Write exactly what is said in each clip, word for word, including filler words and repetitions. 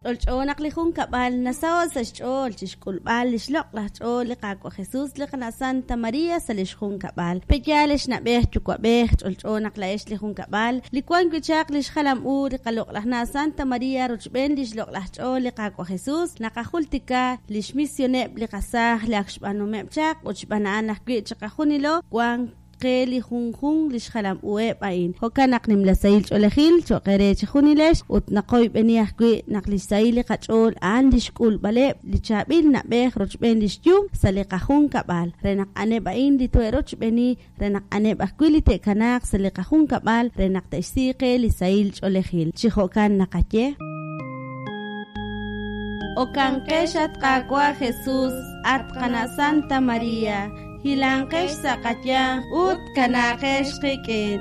Ch'olch'o naq li junkab'al nasaho' sa' xch'ool chi xk'ulb'al li xloq'laj ch'ool li Qaawa' Jesus li qana' Santa Maria sa' li xjunkab'al. Pe'yaal ex na'b'ej yuwa'b'ej, ch'olch'o naq laa'ex li junkab'al li wan wi' chaq li xjalam u li qaloq'laj na' Santa Maria rochb'een li xloq'laj ch'ool li Qaawa' Jesus, naqajultika li xmisioneb' li qasaaj li ak xb'aanumeb' chaq ut xb'aan a'an ajwi' chiqajunilo wank qe li junjunq li xjalam uheb' a'in. Jo'kan naq nimla sahil ch'oolejil cho'q eere chi junilex ut naqoyb'eni ajwi' naq li xsahil li qach'ool a'an li xk'ulb'aleb' li chaab'il na'b'ej rochb'een li xyum sa' li qajunkab'al, re naq a'aneb' a'in li to'e'rochb'eeni, re naq a'aneb' ajwi' li te'kanaaq sa' li qajunkab'al re naq te'xsi qe li sahil ch'oolejil. Chi jo'kan naqaye. Okanqex at Qaawa' Jesus, at qana' Santa Maria, hilanqex sa' qayanq ut kanaaqex qik'in.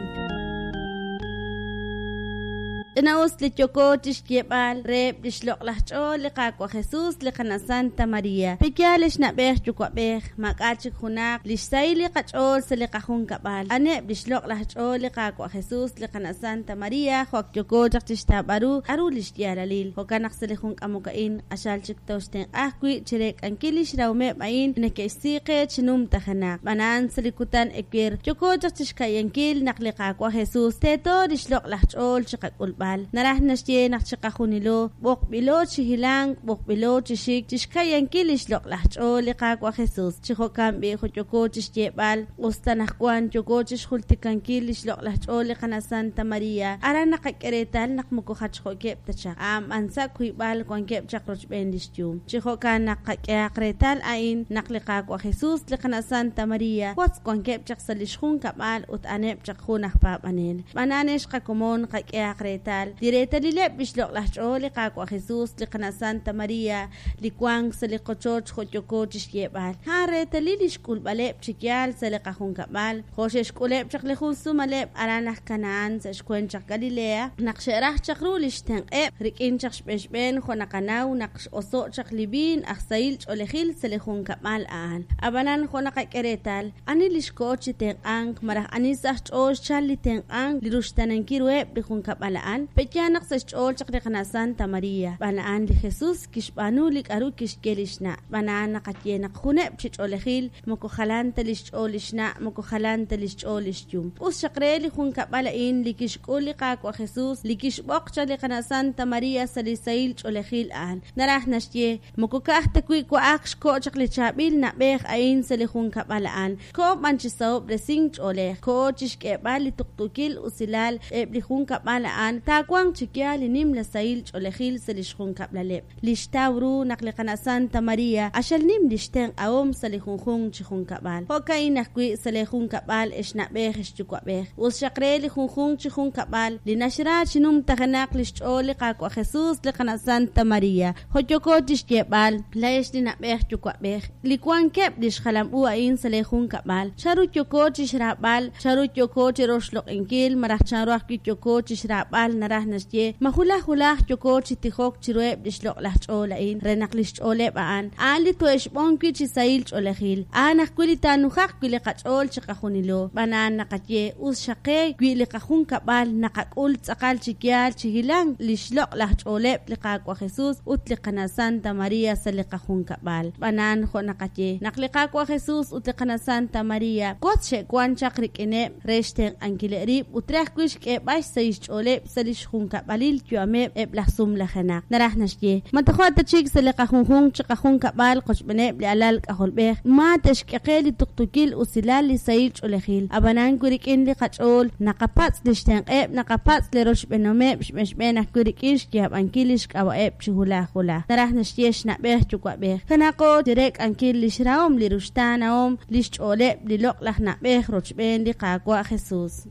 Ch'ina'us li yooko chi xyeeb'al reheb' li xloq'laj ch'ool li Qaawa' Jesus li qana' Santa Maria. Pe'yaal ex na'b'ej yuwa'b'ej, maak'a' chik junaq li xsahil li qach'ool sa' li qajunkab'al. A'aneb' li xloq'laj ch'ool li Qaawa' Jesus li qana' Santa Maria jo' ak yooko chaq chi xtawb'al ru k'aru li xyaalalil. Jo'kan naq sa' li jun k'amok a'in q'axal chik tooxtenq'a ajwi' chi reek'ankil li xrahomeb' a'in neke'xsi qe chi numtajenaq. Xb'aan a'an sa' li kutan ewer yooko chaq chi xka'yankil naq li Qaawa' Jesus teeto li xloq'laj ch'ool chi qak'ulb'al. Naraj naxye naq chiqajunilo b'oqb'ilo chi hilank, b'oqb'ilo chi xik chi xka'yankil li xloq'laj ch'ool li Qaawa' Jesus. Chi jo'kan b'i' jo' yooko chi xyeeb'al, us ta anaqwan yooko chi xjultikankil li xloq'laj ch'ool li qana' Santa Maria, aran naqak'e reetal naq moko jachjo'keb' ta chaq. A'an b'an sa' wiib'al wankeb' chaq rochb'een li xyum. Chi jo'kan naq qak'ehaq reetal a'in naq li Qaawa' Jesus li qana' Santa Maria wotz wankeb' chaq sa' li xjunkab'al ut a'aneb' chaq jun aj paab'anel. Xb'aan a'an ex qakomon qak'ehaq reetal li reetalileb' li xloq'laj ch'ool li Qaawa' Jesus li qana' Santa Maria li wank sa' li qochoch jo' yooko chi xyeeb'al. A'an reetalil li xk'ulb'aleb' chi yaal sa' li qajunkab'al, jo' xe'xk'uleb' chaq li jun sumaleb' aran aj Canaán sa' xweent chaq Galilea, naq xe'raj chaq ru li xtenq'eb' rik'in chaq xb'een xb'een jo' naqanaw naq x'oso' chaq li viin aj sahil ch'oolejil sa' li junkab'al a'an. Ab'anan jo' naqak'e reetal, ani li xkoho chi tenq'ank malaj ani sa' xch'ool xchal li tenq'ank li ruxtanankil ruheb' li junkab'al a'an, pe'yaal naq sa' xch'ool chaq li qana' Santa Maria. Xb'aan a'an li Jesus kixb'aanu li k'aru kixye li xna'. Xb'aan a'an naqaye naq juneb' chi ch'oolejil moko jalan ta li xch'ool li xna', moko jalan ta li xch'ool li xyum. Us xaq re li junkab'al a'in li kixk'ul li Qaawa' Jesus li kixb'oq chaq li qana' Santa Maria sa' li sahil ch'oolejil a'an. Naraj naxye, moko ka'aj ta wi' wa'ak xko' chaq li chaab'il na'b'ej a'in sa' li junkab'al a'an. Koho b'an chi sahob'resink ch'oolej, koho chi xk'eeb'al li tuqtuukil usilal eb' li junkab'al a'an, taawanq chi yaal li nimla sahil ch'oolejil sa' li xjunkab'laleb'. Li xtaw ru naq li qana' Santa Maria q'axal nim li xtenq'ahom sa' li junjunq chi junkab'al. Jo'ka'in ajwi' sa' leejunkab'al ex na'b'ej ex yuwa'b'ej. Us xaq re li junjunq chi junkab'al li naxra chi numtajenaq li xch'ool li Qaawa' Jesus li qana' Santa Maria. Jo' yooko chi xyeeb'al, laa'ex li na'b'ej yuwa'b'ej li wankeb' li xjalam u a'in sa' leejunkab'al, chanru yooko chi xraab'al, chanru yooko chi roxloq'inkil malaj chanru ajwi' yooko chi xraab'al naraj naxye ma hulaj hulaj yooko chi tijok chiruheb' li xloq'laj ch'ool a'in re naq li xch'ooleb' a'an a'an li to'e'xb'on wi' chi sahil ch'oolejil, a'an ajwi' li taanujaq wi' li qach'ool chiqajunilo. Xb'aan a'an naqaye us xaq qe wi' li qajunkab'al naqak'ul tz'aqal chi yaal chi hilank li xloq'laj ch'ooleb' li Qaawa' Jesus ut li qana' Santa Maria sa' li qajunkab'al. Xb'aan a'an jo' naqaye naq li Qaawa' Jesus ut li qana' Santa Maria wotz xe'wank chaq rik'ineb' re xtenq'ankileb' rib' ut re ajwi' xk'eeb'al xsahil xch'ooleb' sa' li xjunkab'alil yu'ameb' eb' laj sumlajenaq. Naraj naxye, ma toja' ta chik sa' li qajunjunq chi qajunkab'al qochb'eeneb' li alal k'ajolb'ej, ma te'xk'e qe li tuqtuukil usilal li sahil ch'oolejil. Ab'anan wi rik'in li qach'ool naqapatz' li xtenq'eb', naqapatz' li rochb'eenomeb' xb'een xb'een ajwi' rik'in xyaab'ankil li xk'ab'a'eb' chi hulaj hulaj. Naraj naxye xna'b'ej yuwa'b'ej. Kanaaqo chi reek'ankil li xrahom li ruxtaanahom li xch'ooleb' li loq'laj na'b'ej rochb'een li Qaawa' Jesus.